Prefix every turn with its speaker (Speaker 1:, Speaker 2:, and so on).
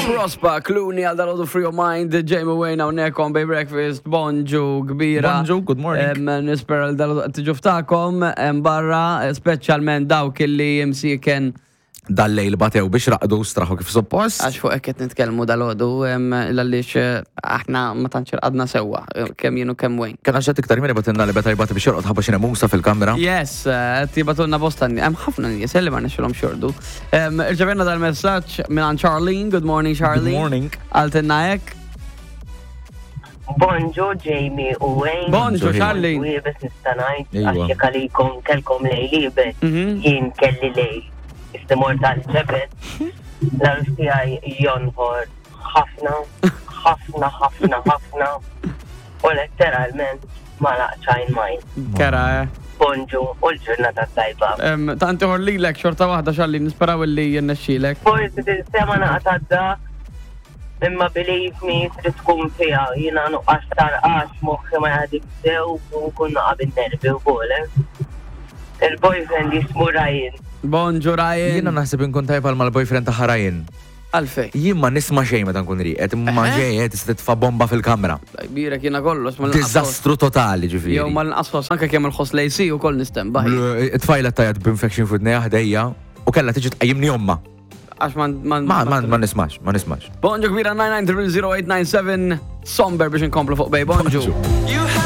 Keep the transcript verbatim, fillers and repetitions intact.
Speaker 1: Prospa, Clooney għal dalgħodu Free Your Mind, Jamie Wayne hawnhekk on Bay Breakfast, bonġu kbira.
Speaker 2: Bonġu, good morning.
Speaker 1: Em, Nispera li dalgħodu tiġu ftakom, em, barra, speċjalment dawk illi jimsiken
Speaker 2: Dal-lejl batew biex raqdu straħu kif suppost.
Speaker 1: Għax fuq hekk qed nitkellmu dalgħodu, em, għaliex eh, aħna ma tantx irqadna sewwa, eh, kemm jien u kemm Wayne.
Speaker 2: Kien għaxet iktar minn batinna li beta jbati biex jorqod ħabba xi nemusa fil-kamra.
Speaker 1: Yes, eh, tibatunna bosta hemm ħafna nies li ma nexxilhom xordu. Em, Irċevenna dal-messaġġ minn Charlene, good morning Charlene.
Speaker 2: Good morning.
Speaker 1: Għaltinna hekk.
Speaker 3: Bonġu Jamie u Wayne.
Speaker 1: Bonġu
Speaker 2: Bonġu,
Speaker 1: Charlene.
Speaker 3: U iebes nista' ngħid
Speaker 2: Iwa.
Speaker 3: għax jekk għalikom kellkom lejl iebes,
Speaker 1: Mhm.
Speaker 3: jien kelli lejl. Istimor tal-ġebel. L-għarus tiegħi jonħor ħafna, ħafna, ħafna, ħafna. U letteralment ma laqċajn majn.
Speaker 1: Kera, eh.
Speaker 3: Bonġu u l-ġurnata tajba.
Speaker 1: Em, Tant iħor lilek xorta waħda Charlene, nisperaw li jennexxilek.
Speaker 3: Forsi tinsema naqta dak, imma believe me, trid tkun fiha, jiena nuqqas tarqax moħħi ma jaħdim sew u nkun naqa' bin-nervi wkoll. eh. Il-boyfriend jismu Ryan.
Speaker 1: Bonġu Ryan.
Speaker 2: Jiena naħseb inkun tajba mal-boyfriend ta' Ryan.
Speaker 1: Għalfej.
Speaker 2: Jien ma nisma' xejn meta nkun rieqed, imma
Speaker 1: Eħe.
Speaker 2: ġejjed tista' titfa' bomba fil-kamra.
Speaker 1: Birek jiena kollox ma l-inqas ħoss.
Speaker 2: Diżastru totali ġifieri.
Speaker 1: Jew ma l-inqas ħoss, anke kemm il-ħoss lejsi u koll nistembaħ.
Speaker 2: It-tfajla tajat b'infection f'widnejha ħdejja u kellha tiġi tqajjimni omma.
Speaker 1: Għax ma
Speaker 2: Ma ma ma nismax, ma nismax.
Speaker 1: Bonġu kbira nine nine zero zero eight nine seven Somber biex inkomplu fuq Bay Bonġu.
Speaker 2: Bonġu.